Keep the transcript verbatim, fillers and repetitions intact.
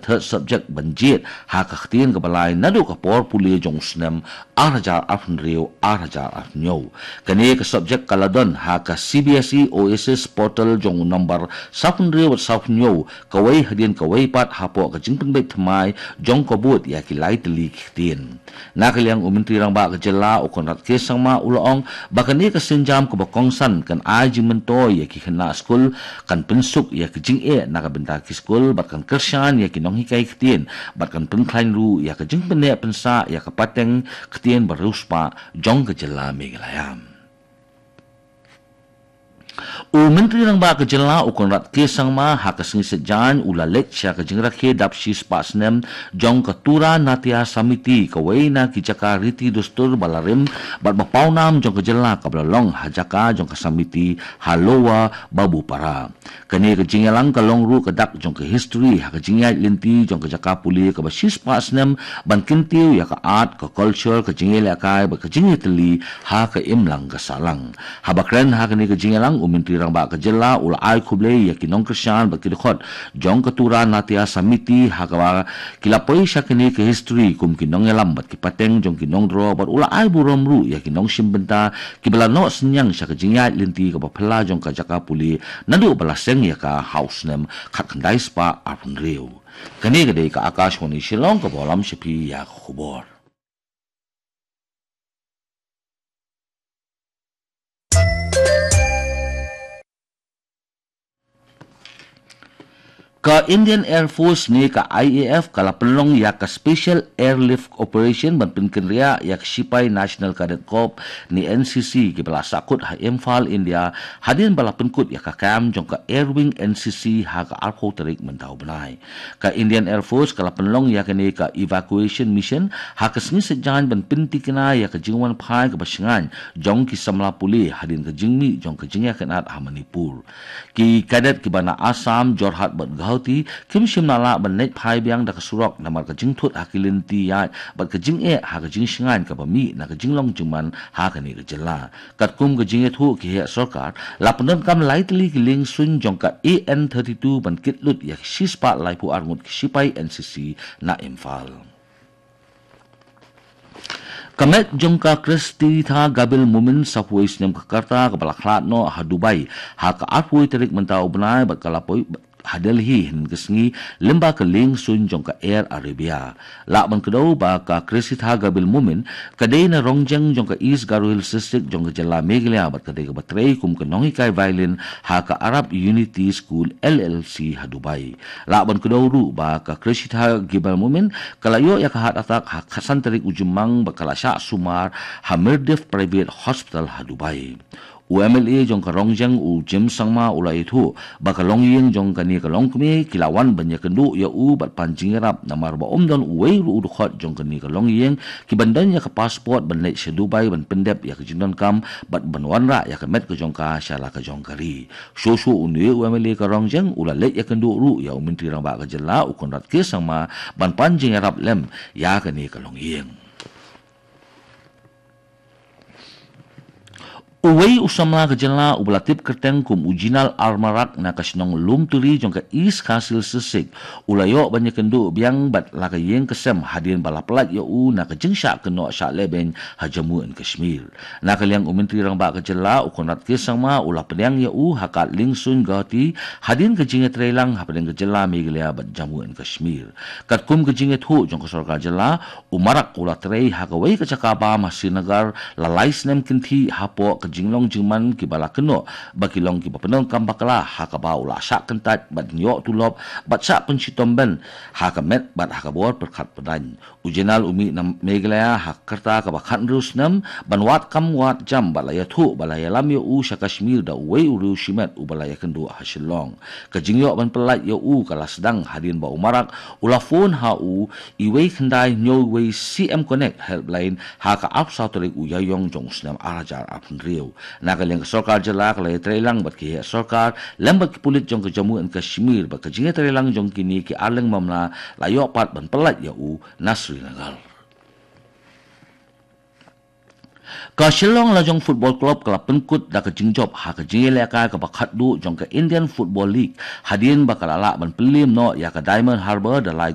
third subject ban jied ha ka ktien kaba lai naduh ka por pule jong u snem ar hajar arphew hynriew ar hajar arphew hynñiew. Kane ka subject ka la don ha ka C B S E Oasis portal jong u nombar sawphew hynriew bad sawphew hynñiew kawei hadien kawei pat hapoh ka jingpynbeit thymmai jong ka board ïa ki lai tylli ki ktien. Na ka liang u Myntri Rangbah ka jylla u Conrad K Sangma u la ong ba kane ka sienjam kaba kongsan kan ai jingmyntoi ïa ki khynnah skul, kan pynsuk ïa ka jingeh na ka bynta ki skul bad kan kyrshan ïa ki nonghikai ktien bad kan pynkhlaiñ ruh ïa ka jingpynneh pynsah ïa ka pateng ktien ba riewspah jong ka jylla Meghalaya. U Myntri Rangbah ka jylla u Conrad K Sangma ha ka sngi Saitjaiñ u la leit sha ka jingrakhe dap shispah snem jong ka Tura Natya Samiti, kawei na ki jaka riti dustur ba la rim bad ba pawnam jong ka jylla kaba la long ha jaka jong ka Samiti ha Lower Babupara. Kane ka jingïalang ka long ruh ka dak jong ka history ha ka jingïaid lynti jong ka jaka pule kaba shispah snem ban kyntiew ïa ka art, ka culture, ka jingïalehkai bad ka jingïatylli ha ka imlang ka sahlang. Haba kren ha kane ka jingïalang u Myntri Rangbah ka jylla u la ai khublei ïa ki nongkyrshan bad ki dkhot jong ka Tura Natya Samiti ha kaba ki la poi sha kane ka history kum ki nongïalam bad ki pateng jong ki nongdro bad u la ai burom ruh ïa ki nongshim bynta kiba la noh synñiang sha ka jingïaid lynti kaba phylla jong ka jaka pule naduh ba la seng ïa ka ha u snem khatkhyndai spah arphew hynriew. Kane ka dei ka Akashvani Shillong kaba lam sha phi ïa ka khubor. Ka Indian Air Force ne ka I A F ka la pynlong ïa ka Special Airlift Operation ban pynkynriah ïa ka shipai National Cadet Corps ne N C C kiba la sahkut ha Imphal, India, hadien ba la pynkut ïa ka camp jong ka Air Wing N C C ha ka arphew tarik mynta u bnai. Ka Indian Air Force ka la pynlong ïa kane ka evacuation mission ha ka sngi Saitjaiñ ban pyntikna ïa ka jingwan phai kaba shngaiñ jong ki samla pule hadien ka jingmih jong ka jingïakynad ha Manipur. Ki cadet kiba na Assam, Jorhat bad Guwahati kim shym la lah ban leit phai biang da ka surok namar ka jingthut ha ki lynti ïaid bad ka jingeh ha ka jingshngaiñ kaba mih na ka jinglong jingman ha kane ka jylla. Katkum ka jingïathuh ki heh sorkar, la pyndonkam lai tylli ki liengsuiñ jong ka A N thirty-two ban kit lut ïa ki shispah laiphew ar ngut ki shipai N C C na Imphal. Ka met jong ka Khristitha Gabil Mumin, sawphew wei snem ka rta, kaba la khlad noh ha Dubai ha ka arphew wei tarik mynta u bnai bad ka la poi ha Delhi hynnin ka sngi lyngba ka liengsuiñ jong ka Air Arabia. Lah ban kdew ba ka Khristitha Gabil Mumin ka dei na Rongjeng jong ka East Garo Hills District jong ka jylla Meghalaya bad ka dei kaba trei kum ka nonghikai violin ha ka Arab Unity School L L C ha Dubai. Lah ban kdew ruh ba ka Khristitha Gabil Mumin ka la ïoh ïa ka heart attack ha khatsan tarik u Jymmang bad ka la shah sumar ha Mirdif Private Hospital ha Dubai. U M L A jong ka Rongjeng u James Sangma u la ïathuh ba ka longïing jong kane ka longkmie ki la wan ban ïakynduh ïa u bad pan jingïarap namar ba ym don uwei ruh u dkhot jong kane ka longïing kiban don ïa ka passport ban leit sha Dubai ban pyndep ïa ka jingdonkam bad ban wanrah ïa ka met ka jong ka sha la ka jong ka ri. Shuh shuh une u M L A ka Rongjeng u la leit ïakynduh ruh ïa u Myntri Rangbah ka jylla u Conrad K Sangma ban pan jingïarap lem ïa kane ka longïing. Uwei u samla ka jylla uba la tip kyrteng kum u Jinal Armarak na ka shnong Lumturi jong ka East Khasi Hills District u la ïoh ban ïakynduh biang bad la ka ïing ka sem hadien ba la pyllait ïa u na ka jingshah kynnoh shah lehbeiñ ha Jammu and Kashmir. Na ka liang u Myntri Rangbah ka jylla u Conrad K Sangma u la pdiang ïa u ha ka liengsuiñ Guwahati hadien ka jingïatreilang hapdeng ka jylla Meghalaya bad Jammu and Kashmir. Katkum ka jingïathuh jong ka sorkar jylla, u Marak u la trei ha kawei ka jaka bam ha Srinagar la lai snem kynthih hapoh ka jinglong jingman kiba la kynnoh ba ki long kiba pyndonkam bakla ha kaba u la shah kyntait bad ïoh tulop bad shah pynshitom beiñ ha ka met bad ha ka bor pyrkhat pyrdain. U Jinal u mih na Meghalaya ha ka rta kaba khathynriew snem ban wad kam wad jam bad la ïathuh ba la ïalam ïa u sha Kashmir da uwei u riew shimet uba la ïakynduh ha Shillong. Ka jingïoh ban pyllait ïa u ka la sdang hadien ba u Marak u la phone ha u iwei khyndai hynñiew wei C M Connect helpline ha ka arphew saw tarik u Ïaïong jong u snem ar hajar arphew hynriew. Na ka liang ka sorkar jylla ka la ïatreilang bad ki heh sorkar lem bad ki pulit jong ka Jammu and Kashmir bad ka jingïatreilang jong kine ki arliang mamla la ïoh pat ban pyllait ïa u na Srinagar. Ka Shillong Lajong Football Club ka la pynkut da ka jingjop ha ka jingïalehkai kaba khatduh jong ka Indian Football League hadien ba ka la lah ban pynliem noh ïa ka Diamond Harbour da lai